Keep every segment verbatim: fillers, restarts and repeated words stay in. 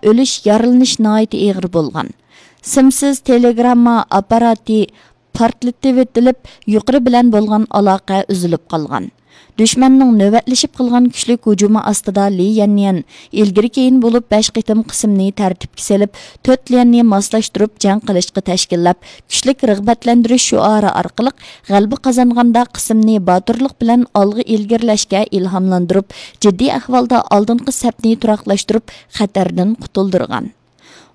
ئۆلۈش، يارىلىنىش ناھايىتى ئېغىر بولغان. سىمسىز تېلېگرامما ئاپپاراتى پارتلىتىۋېتىلىپ، يۇقىرى بىلەن بولغان ئالاقە ئۈزۈلۈپ قالغان. دۈشمەننىڭ نۆۋەتلىشىپ قىلغان كۈچلۈك ھۇجۇمى ئاستىدا لى يەنيەن ئىلگىرى كېيىن بولۇپ بەش قېتىم قىسىمنى تەرتىپكە سېلىپ، تۆت ليەننى ماسلاشتۇرۇپ جەڭ قىلىشقا تەشكىللەپ، كۈچلۈك رىغبەتلەندۈرۈش شوئارى ئارقىلىق غەلىبە قازانغاندا قىسىمنى باتۇرلۇق بىلەن ئالغا ئىلگىرىلەشكە ئىلھاملاندۇرۇپ، جىددىي ئەھۋالدا ئالدىنقى سەپنى تۇراقلاشتۇرۇپ، خەتەردىن قۇتۇلدۇرغان.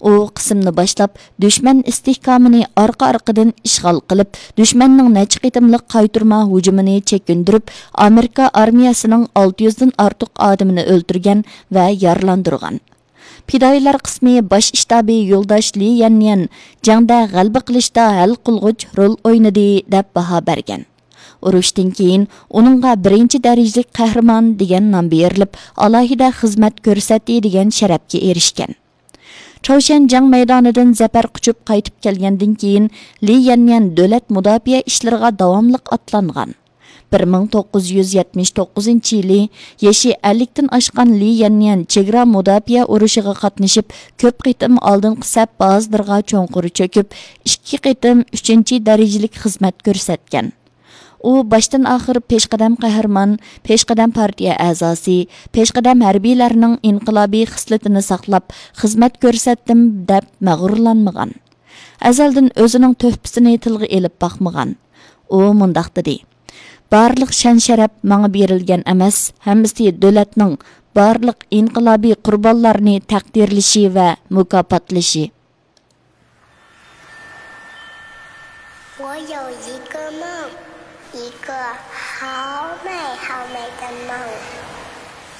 ئۇ قىسىمنى باشلاپ، دۈشمەن ئىستىھكامىنى ئارقا-ئارقىدىن ئىشغال قىلىپ، دۈشمەننىڭ نەچچە قېتىملىق قايتۇرما ھۇجۇمىنى چېكىندۈرۈپ، ئامېرىكا ئارمىيەسىنىڭ ئالتە يۈزدىن ئارتۇق ئادىمىنى ئۆلتۈرگەن ۋە يارىلاندۇرغان. پىدائىيلار قىسمى باش شتابى يولداش لى يەنيەن جەڭدە غەلىبە قىلىشتا ھەل قىلغۇچ رول ئوينىدى، دەپ باھا بەرگەن. ئۇرۇشتىن كېيىن ئۇنىڭغا بىرىنچى دەرىجىلىك قەھرىمان دېگەن نام بېرىلىپ، ئالاھىدە خىزمەت كۆرسەتتى دېگەن شەرەپكە ئېرىشكەن. چاۋشيەن جەڭ مەيدانىدىن زەپەر قۇچۇپ قايتىپ كەلگەندىن كېيىن، لى يەنيەن دۆلەت مۇداپىئە ئىشلىرىغا داۋاملىق ئاتلانغان. بىر مىڭ توققۇز يۈز يەتمىش توققۇزىنچى يىلى يېشى ئەللىكتىن ئاشقان لى يەنيەن چېگرا مۇداپىئە ئۇرۇشىغا قاتنىشىپ، كۆپ قېتىم ئالدىنقى سەپ بازىلىرىغا چوڭقۇر چۆكۈپ، ئىككى قېتىم ئۈچىنچى دەرىجىلىك خىزمەت كۆرسەتكەن. ئۇ باشتىن ئاخىر پېشقەدەم قەھرىمان، پېشقەدەم پارتىيە ئەزاسى، پېشقەدەم ھەربىيلەرنىڭ ئىنقىلابىي خىسلىتىنى ساقلاپ، خىزمەت كۆرسەتتىم دەپ مەغرۇرلانمىغان. ئەزەلدىن ئۆزىنىڭ تۆھپىسىنى تىلغا ئېلىپ باقمىغان. ئۇ مۇنداق دېدى: بارلىق شان-شەرەپ ماڭا بېرىلگەن ئەمەس، ھەممىسى دۆلەتنىڭ بارلىق ئىنقىلابىي قۇربانلارنى تەقدىرلىشى ۋە مۇكاپاتلىشى. 我有一个梦，一个